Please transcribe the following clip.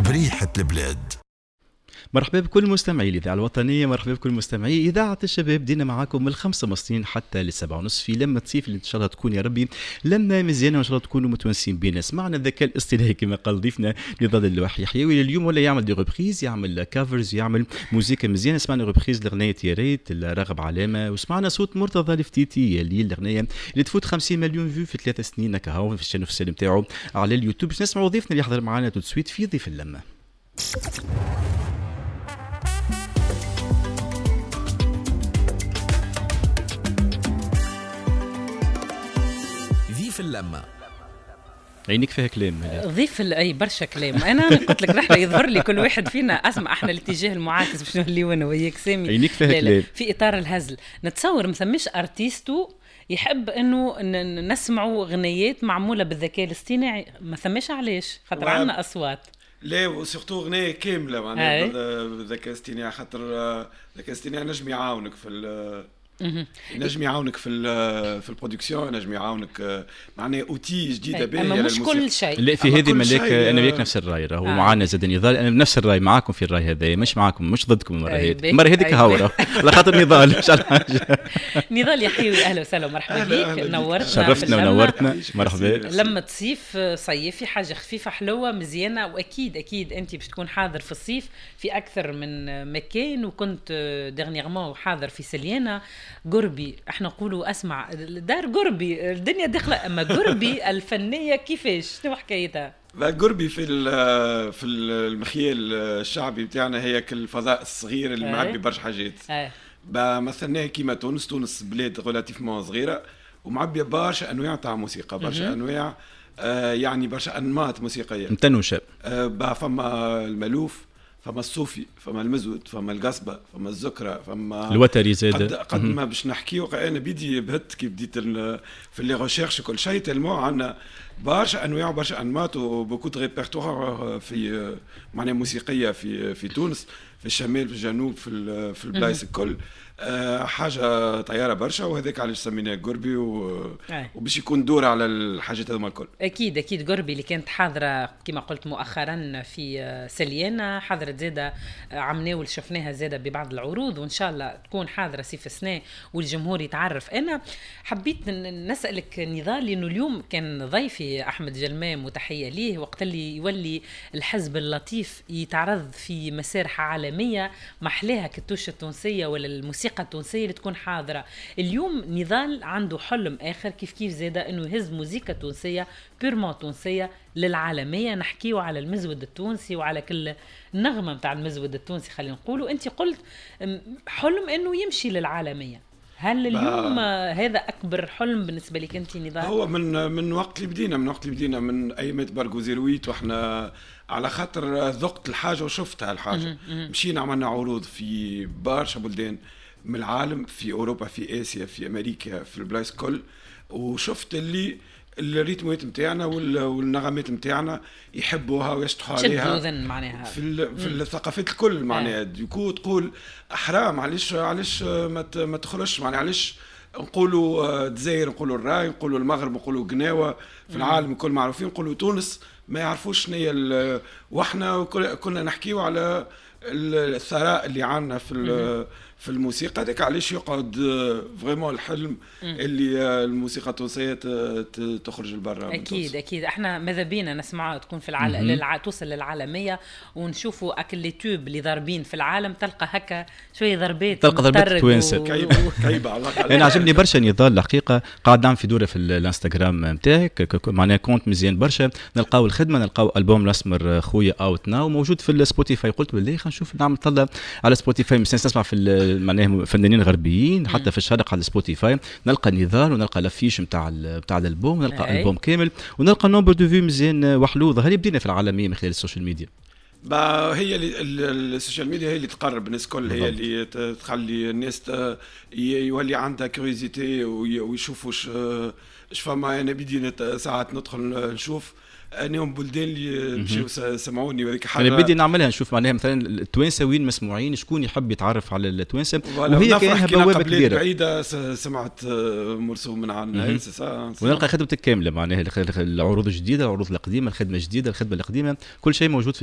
بريحة البلاد. مرحبا بكل مستمعي الإذاعة الوطنية، مرحبا بكل مستمعي إذاعة الشباب. بدينا معاكم من 5:30 حتى 7:30 في لمة صيف اللي إن شاء الله تكون يا ربي لمة مزيانة، وإن شاء الله تكونوا متونسين بينا. سمعنا الذكاء الاصطناعي كما قال ضيفنا نضال اللوحي يحيوي اليوم، ولا يعمل des reprises، يعمل covers، يعمل موزيكا مزيانة. سمعنا reprise لغنية يا ريت راغب علامة، وسمعنا صوت مرتضى الفتيتي اللي الأغنية اللي تفوت 50 مليون vues في 3 سنين كهو في ال chaîne officielle نتاعو على اليوتيوب. باش نسمعوا ضيفنا اللي يحضر معنا tout de suite في ضيف اللمة. ضيف اللمة. عينيك فيها كلام. ضيف اي برشا كلام. انا قلت لك نحن يظهر لي كل واحد فينا اسمع احنا الاتجاه المعاكس باش نوليو انا وياك سامي. عينيك فيها كلام. في اطار الهزل نتصور ما ثماش artiste يحب انه نسمعوا غنيات معمولة بالذكاء الاصطناعي، ما ثماش علاش، خاطر عندنا اصوات. لا و surtout غنية كاملة معناها بالذكاء الاصطناعي، خاطر الذكاء الاصطناعي نجم يعاونك في نجم يعاونك في ال production، نجم يعاونك معناها outil جديدة باهيه، اما مش كل شيء. لا في هذه ملاك انا وياك نفس الراي، راهو معانا زاد نضال، انا بنفس الراي معاكم في الراي هذا، مش معاكم مش ضدكم المرة هذه، المرة هذيك هاو على خاطر نضال مش على حاجة. نضال يحيوي اهلا وسهلا ومرحبا بك، نورتنا شرفتنا ونورتنا، مرحبا. لما تصيف صيفي حاجة خفيفة حلوة مزيانه، واكيد اكيد انت باش تكون حاضر في الصيف في اكثر من مكان، وكنت dernièrement حاضر في سليانه قربي. احنا نقولوا اسمع دار قربي الدنيا داخله، اما قربي الفنية كيفاش، شنو حكايتها؟ قربي في المخيال الشعبي بتاعنا هي الفضاء الصغير اللي معبي برشا حاجات. مثلا كيما تونس، تونس بلاد relativement صغيرة ومعبيه برشا انواع تاع موسيقى، برشا انواع يعني برشا انماط موسيقية متنوشه. فما المالوف، فما الصوفي، فما المزود، فما القصبة، فما الزكرة، فما الوتري زاد. قد ما باش نحكيو انا بيدي بهت كي بديت في les recherches كل شيء، tellement عندنا برشا انواع وبرشا انماط و beaucoup de répertoires في معناها موسيقية في تونس، في الشمال، في الجنوب، في البلايص الكل. حاجة طيارة برشا، وهذاك علاش سميناه قربي وباش يكون دور على الحاجات هذوما الكل. اكيد اكيد قربي اللي كانت حاضره كما قلت مؤخرا في سليانه، حضرت زاده عمناول شفناها زاده ببعض العروض، وان شاء الله تكون حاضره صيف السنة والجمهور يتعرف. انا حبيت نسالك نضال، لانه اليوم كان ضيفي احمد جلمام وتحية ليه، وقت اللي يولي الحزب اللطيف يتعرض في مسارح عالمية محلاها كالتوشه التونسية ولا الموسيقى التونسية اللي تكون حاضرة. اليوم نضال عنده حلم آخر كيف كيف زادة، أنه يهز موسيقى تونسية purement تونسية للعالمية. نحكيه على المزود التونسي وعلى كل نغمة متاع المزود التونسي خلينا نقولوا. أنت قلت حلم أنه يمشي للعالمية، هل اليوم هذا أكبر حلم بالنسبة لك أنت نضال؟ هو من وقت اللي بدينا، من وقت اللي بدينا من أيامات بارغوزيرويت، وإحنا على خاطر ذقت الحاجة وشفتها الحاجة. مشينا عملنا عروض في برشا بلدان من العالم، في أوروبا، في آسيا، في أمريكا، في البلايص كل، وشفت اللي الريتمات نتاعنا والنغمات نتاعنا يحبوها ويشطحوا عليها معناها في الثقافات الكل معناها. du coup تقول حرام، علاش ما تخرجش معناها، علاش نقولوا الجزائر، نقولوا الراي، نقولوا المغرب، نقولوا قناوه في العالم الكل معروفين، نقولوا تونس ما يعرفوش شنو هي. واحنا كنا نحكيو على الثراء اللي عندنا في الموسيقى، هذاك علاش يقعد vraiment الحلم اللي الموسيقى التونسية تخرج لبرا. اكيد اكيد احنا ماذا بينا نسمعها تكون في العالم، توصل للعالمية، ونشوفوا اكل les tubes اللي ضاربين في العالم، تلقى هكا شوية ضربات، تلقى ضربات توانسة كعيبه على الاقل. انا عجبني برشا نضال الحقيقة، قاعد نعمل في دوره في الانستغرام نتاعك، معناها compte مزيان برشا، نلقاو الخدمة، نلقاو البوم الاسمر خويا out now موجود في السبوتيفاي. قلت بالله خلينا نشوف نعمل طلع على سبوتيفاي، مش نسمع في معناها فنانين غربيين حتى في الشرق على سبوتيفاي، نلقى نضال ونلقى l'affiche نتاع الالبوم، ونلقى البوم كامل، ونلقى nombre de vues مزيان وحلو. ظهر بدينا في العالمية من خلال السوشيال ميديا. هي السوشيال ميديا هي اللي تقرب الناس الكل، هي اللي تخلي الناس يولي عندها curiosité ويشوفوا اش فما. انا بدي ساعات ندخل نشوف انهم بلدان اللي مشاو سمعوني، وهذيك حاجة انا بدي نعملها، نشوف معناها مثلا التوانسة وين مسموعين، شكون يحب يتعرف على التوانسة، وهي كانها بوابه كبيرة بعيدة. سمعت مرسوم من عندنا ونلقى خدمتك كاملة معناها العروض الجديدة، العروض القديمة، الخدمة الجديدة، الخدمة القديمة، كل شيء موجود في